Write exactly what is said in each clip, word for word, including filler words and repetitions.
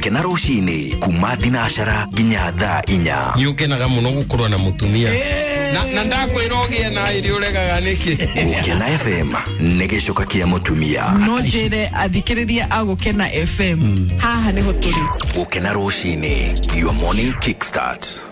Gũkena rũcinĩ kuma thinacara nginya thaa inya. Nĩ ũkenaga mũno gũkorwo na mũtumia na, na ndakwĩra ũgĩe na ĩrĩ ũregaga nĩkĩ. Gũkena F M nĩ gĩcoka kĩa mũtumia. No njĩre athikĩrĩria a Gũkena F M haha nĩho tũrĩ. Gũkena rũcinĩ, your morning kickstart.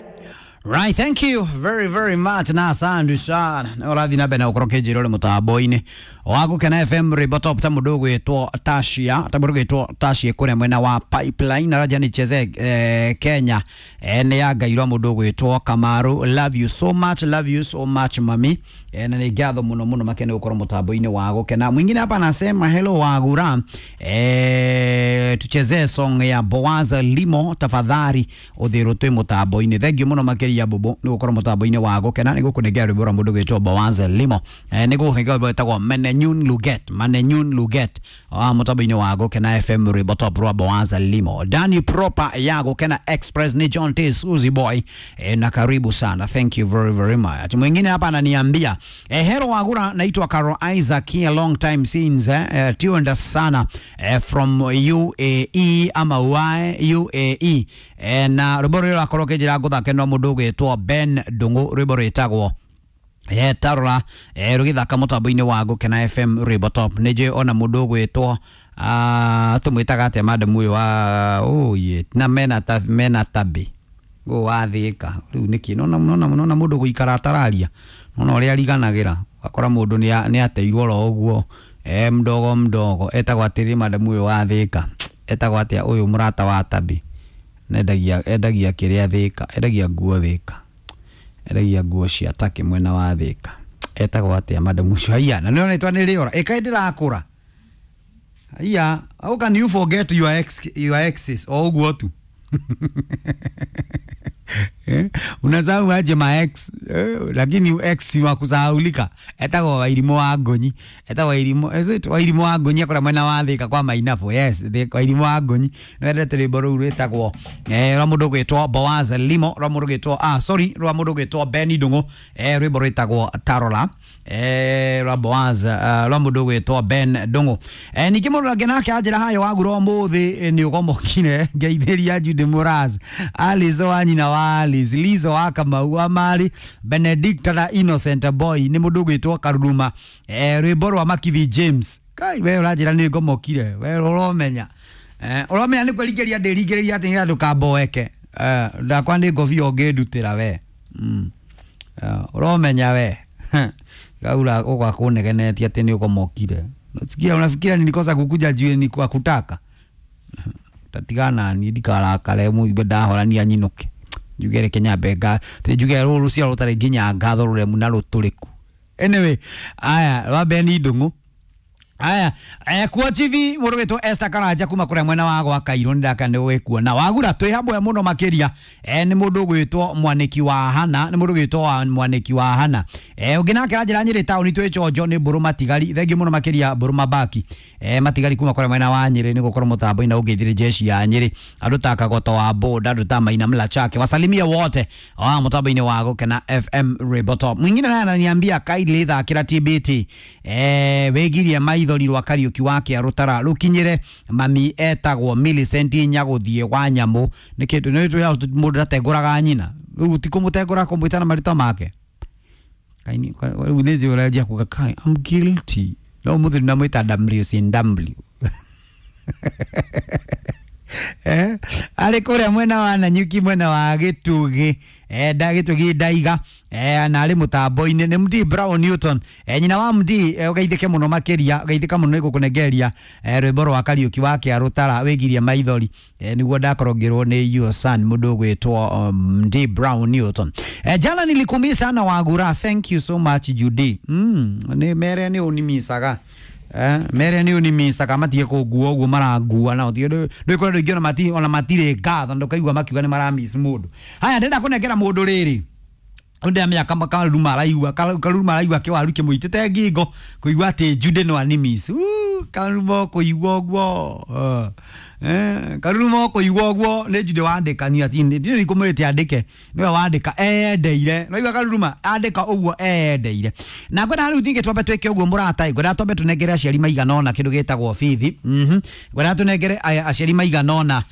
Right, thank you very very much na asante sana. Na urathi na bena ukoro kejiro le mutambo-ini wa Gũkena F M rwimbo top ta mundu gwitwo Tashia, ta mundu gwitwo Tashia kuria mwena wa Pipeline na raja ni cheze eh, Kenya eh, ni ya ngairwa mundu gwitwo Kamaru. Love you so much, love you so much mami. Eh, na ni ngatho muno muno makene gũkorwo mutambo-ini wa Gũkena. Mwingine hapa anasema hello Wagura, eh, tuchezee song ya Boaza Limo tafadhali uthirwo twi mutambo-ini. Thank you muno makiria bobo ni gukorwo mutambo-ini wa Gũkena. Ni gukunengera rwimbo rwa mundu gwitwo Boaza Limo, eh, ni gukunengera rwimbo rwitagwo Menenyun Luget, Menenyun Luget wa mutambo-ini wa Gũkena F M rwimbo top rwa Boaza Limo. Dani Proper ya Gũkena Express ni John T Suzy Boy, eh, na karibu sana, thank you very very much. Mwingine hapa ananiambia eh, hero Wagura, naitwa Caro Isaac here, long time since eh, eh, tuned sana eh, from U A E ama Y U A E eh, na rwimbo rũrĩa rũrakorwo kĩnjĩra ngũthake no mũndũ ũgwĩtwo Ben Ndung'u, rwimbo rwĩtagwo eh, tarora eh, rũgĩthaka mũtambo-inĩ wa Gũkena F M rwimbo top. Nĩ njũĩ ona mũndũ ũgwĩtwo ah, tũmwĩtaga atĩa madam ũyũ wa ũyĩ na mena ta, mena tabi ũyũ wa Thĩka rĩu nĩkĩ nona nona nona mũndũ gũikara atararia nona ũrĩa ariganagĩra ũgakora mũndũ nĩ ateirwo oro ũguo eh, mdogo mdogo. Etagwo atĩrĩ madam ũyũ wa Thĩka etagwo atĩa ũyũ mũrata wa tabi endagia endagia kĩrĩa Thĩka, endagia nguo Thĩka, endagia nguo cia take mwena wa Thĩka, etagwo atĩa madam ũcio? Haiya, na nĩona rĩtwa nĩ rĩora ĩkaĩ ndĩrakũra. Haiya, how can you forget your ex, your exes o ũguo tu? Eh, unasahau aje ma ex eh, lakini ex si wa kusahaulika. Etagwo Wairimu wa Ngonyi, etagwo Wairimu, is it Wairimu wa Ngonyi akora mwena wa Thĩka kwa Mainabu? Yes, Wairimu wa Ngonyi no endete rwimbo rũu rwĩtagwo eh, rwa mũndũ gwĩtwo Boaz Limo, rwa mũndũ gwĩtwo ah sorry rwa mũndũ gwĩtwo Benny Ndung'u, eh, rwimbo rwĩtagwo Tarora eh, rwa Boaz uh, rwa mũndũ gwĩtwo Ben Ndung'u. Eh, ningĩ mũndũ angĩ nake anjĩra hayo Wagura ũmũthĩ nĩ ũgomokire ngeithĩria Judy Muraz, Alice wa nyina wa Alice, Lizo wa Kamau wa Mari, Benedicta na Innocent Boy nĩ mũndũ gwĩtwo Karuruma, eh, rwimbo rwa Makithi James. Kai we ũranjĩra nĩ ngomokire, we ũromenya eh, ũromenya nĩ kwĩringĩria ndĩringĩrĩria atĩ nĩgetha ndũkamboeke eh, ndakwa nĩ ngobia ũngĩndutĩra we mm. eh, ũromenya we gaura ũgakũnegenetie atĩ nĩ ũgomokire. Sikia, unafikiria nilikosa kukuja juu ni kwa kutaka tatigana ni ndikarakare mũigue ndahorania nyinũke njuge reke nyambe nga njuge rũrũ rũciaro rũtarĩ nginya ngatho rũremu na rũtũrĩku. Anyway, aya rwa Beni Ndung'u. Aya eh, kuo T V mũndũ wĩtwo Esther Karanja kuma kũrĩa mwena wa gwa Kairũ nĩndaka nĩ gwĩkuona Wagura twĩ hamwe mũno makĩria eh, nĩ mũndũ gwĩtwo Mwanĩki wa Hana, nĩ mũndũ gwĩtwo wa Mwanĩki wa Hana eh, ũngĩ nake anjĩra Nyĩrĩ taũni twĩ Chonjo nĩ Mbũrũ Matigari. Thengiũ mũno makĩria Mbũrũ Mabaki eh, Matigari kuma kũrĩa mwena wa Nyĩrĩ nĩ gũkorwo mũtambo-inĩ na ũngĩthire jeshi ya Nyĩrĩ andũ ta Kagoto wa Boda andũ ta Maina Mlachake wasalimie wote wa mũtambo-inĩ wa Gũkena F M rwimbo top. Mwingine naye ananiambia kindly thakĩra T B T eh, wĩgirie maithori rwa Kariuki wa Kĩarũtara rũkinyĩre mami etagwo Millicent Nyagũthiĩ wa Nyamũ. Nĩ kĩndũ nĩ tũya mũndũ ndatengũraga nyina rĩu ti kũmũtengũra kũmwĩta na marĩtwa make kaini rĩu nĩ njũranjia kuga kai I'm guilty no mũthuri namwĩta W C W eh arĩ kũrĩa mwena wa Nanyuki mwena wa Gĩtugĩ eh nda Gĩtugĩ ndaiga eh na arĩ mũtambo-inĩ nĩ Md Brown Newton eh, nyina wa Md eh, ũgeithĩke mũno makĩria ũgeithĩka mũno nĩ gũkũnengeria eh, rwĩmbo rwa Kariuki wa Kĩarũtara wĩgirie maithori eh, nĩguo ndakorwo ngĩrwo nĩ your son mũndũ ũgwĩtwo um, Md Brown Newton. Eh, jana nilikumii sana Wagura, thank you so much Judy. Mm, nĩ mere nĩ ũnimicaga eh, mere nĩ ũnimicaga matige kũngua ũguo marangua nao ndũikora andũ aingĩ ona mati ona matirĩ ngatho ndũkaigua makiuga nĩ maramiss mũndũ. Haya ndĩrenda kũnengera mũndũ rĩrĩ ndä amenya karuruma araigua karuruma araigua kĩwaru kĩmũitĩte ngingo kũigua atĩ Jude no animiss karuruma kũigua ũguo eh, karuruma kũigua ũguo nĩ Jude wandĩkania ti ndirĩ ikũmwĩrĩte andĩke nĩwe wandĩka eyendeire naigua karuruma andĩka ũguo eyendeire. Na ngwenda rĩu ningĩ twambe twĩke ũguo mũrata ngwenda twambe tũnengere aciari maigana ũna kĩndũ gĩtagwo bithi mhm ngwenda tũnengere aciari maigana ũna